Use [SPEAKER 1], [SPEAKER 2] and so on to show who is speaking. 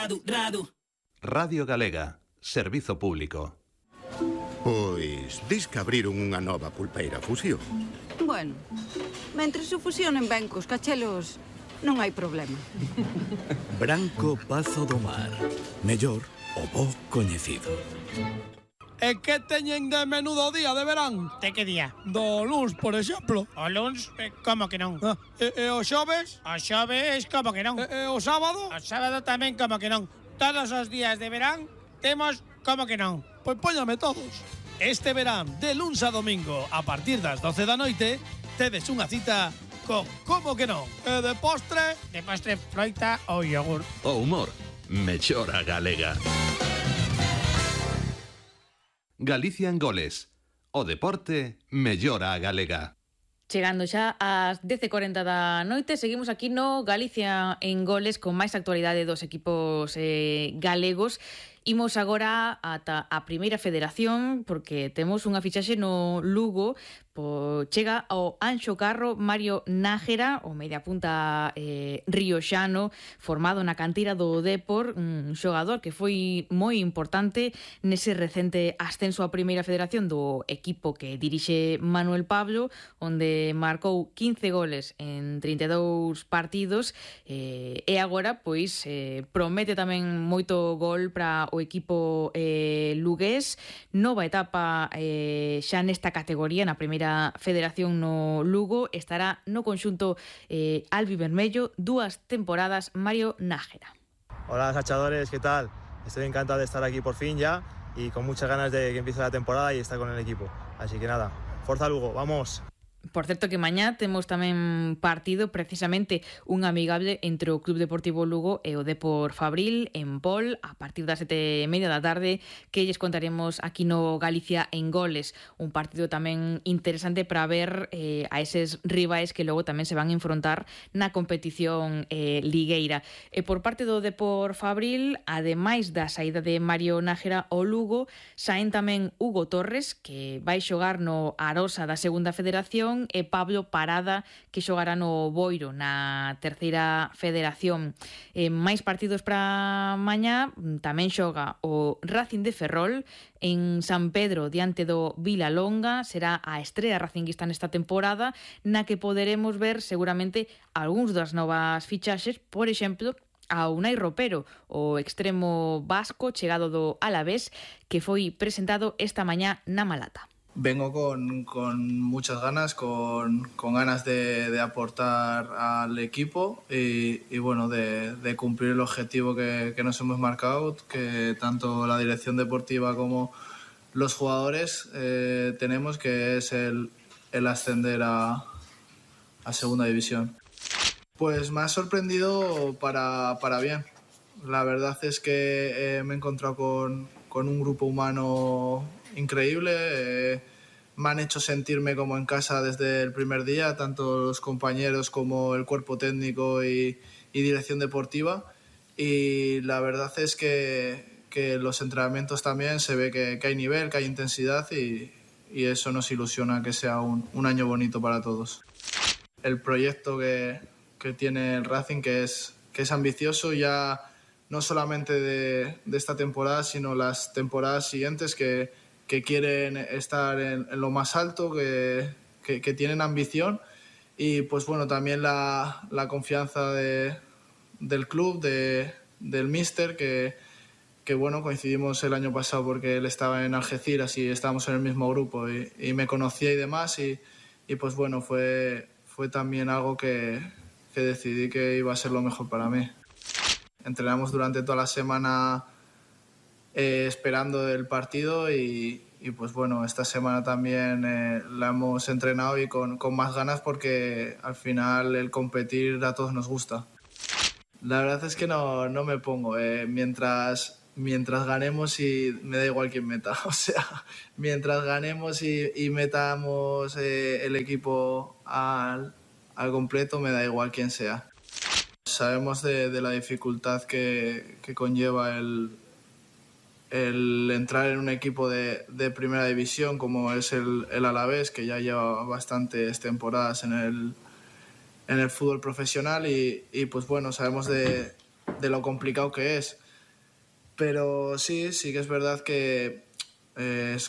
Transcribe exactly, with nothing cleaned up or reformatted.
[SPEAKER 1] radu, radu.
[SPEAKER 2] Radio Galega, servizo público.
[SPEAKER 3] Pois, dis que abriron unha nova pulpeira fusión.
[SPEAKER 4] Bueno, mentres se fusionen ben cos cachelos, non hai problema.
[SPEAKER 5] Branco Pazo do Mar. Mellor o bo coñecido.
[SPEAKER 6] E que teñen de menú do día de verán?
[SPEAKER 7] De que día?
[SPEAKER 6] Do luns, por exemplo.
[SPEAKER 7] O luns? Eh, como que non?
[SPEAKER 6] Ah, e, e o xoves?
[SPEAKER 7] O xoves, como que non?
[SPEAKER 6] E, e o sábado?
[SPEAKER 7] O sábado tamén, como que non? Todos os días de verán temos como que non?
[SPEAKER 6] Pois póñame todos. Este verán, de luns a domingo, a partir das doce da noite, tedes unha cita con como que non? E de postre?
[SPEAKER 7] De postre, froita ou yogur.
[SPEAKER 2] O humor, mellor a galega. Galicia en goles. O deporte, mellor a galega.
[SPEAKER 8] Chegando xa ás dez e cuarenta da noite, seguimos aquí no Galicia en goles con máis actualidade dos equipos eh, galegos. Imos agora ata a primeira federación porque temos unha fichaxe no Lugo. Po, chega ao Anxo Carro Mario Nájera, o media punta eh, rioxano, formado na cantera do Dépor, un xogador que foi moi importante nese recente ascenso á primeira federación do equipo que dirixe Manuel Pablo, onde marcou quince goles en trinta e dous partidos, eh, e agora pois eh, promete tamén moito gol para o equipo eh, lugués. Nova etapa eh, xa nesta categoría, na primeira federación no Lugo, estará no conxunto eh, albivermello dúas temporadas Mario Nájera.
[SPEAKER 9] Hola sachadores, ¿qué tal? Estoy encantado de estar aquí por fin ya y con muchas ganas de que empiece la temporada y estar con el equipo. Así que nada, Forza Lugo, vamos.
[SPEAKER 8] Por certo que mañá temos tamén partido, precisamente un amigable entre o Club Deportivo Lugo e o Dépor Fabril en Pol a partir das sete e media da tarde, que lles contaremos aquí no Galicia en goles. Un partido tamén interesante para ver eh, a eses rivais que logo tamén se van a enfrontar na competición eh, ligueira. E por parte do Dépor Fabril, ademais da saída de Mario Nájera ao Lugo, saen tamén Hugo Torres, que vai xogar no Arosa da Segunda Federación, e Pablo Parada, que xogará no Boiro na Terceira Federación. Eh, máis partidos para mañá, tamén xoga o Racing de Ferrol en San Pedro diante do Vilalonga. Será a estrela racinguista nesta temporada, na que poderemos ver seguramente algúns das novas fichaxes, por exemplo, a Unai Ropero, o extremo vasco chegado do Alavés, que foi presentado esta mañá na Malata.
[SPEAKER 10] Vengo con, con muchas ganas, con, con ganas de, de aportar al equipo y, y bueno, de, de cumplir el objetivo que, que nos hemos marcado, que tanto la dirección deportiva como los jugadores eh, tenemos, que es el, el ascender a, a Segunda División. Pues me ha sorprendido para, para bien. La verdad es que eh, me he encontrado con, con un grupo humano increíble. Eh, me han hecho sentirme como en casa desde el primer día, tanto los compañeros como el cuerpo técnico y, y dirección deportiva. Y la verdad es que, que los entrenamientos también se ve que, que hay nivel, que hay intensidad y, y eso nos ilusiona que sea un, un año bonito para todos. El proyecto que, que tiene el Racing, que es, que es ambicioso ya no solamente de, de esta temporada, sino las temporadas siguientes, que que quieren estar en, en lo más alto, que, que, que tienen ambición y pues bueno, también la, la confianza de, del club, de, del míster, que, que bueno, coincidimos el año pasado porque él estaba en Algeciras y estábamos en el mismo grupo y, y me conocía y demás y, y pues bueno, fue, fue también algo que, que decidí que iba a ser lo mejor para mí. Entrenamos durante toda la semana Eh, esperando el partido y, y pues bueno, esta semana también eh, la hemos entrenado y con, con más ganas porque al final el competir a todos nos gusta. La verdad es que no, no me pongo, eh, mientras, mientras ganemos y me da igual quién meta, o sea, mientras ganemos y, y metamos eh, el equipo al, al completo me da igual quién sea. Sabemos de, de la dificultad que, que conlleva el el entrar en un equipo de, de primera división como es el, el Alavés, que ya lleva bastantes temporadas en el, en el fútbol profesional y, y pues bueno, sabemos de, de lo complicado que es. Pero sí, sí que es verdad que eh, es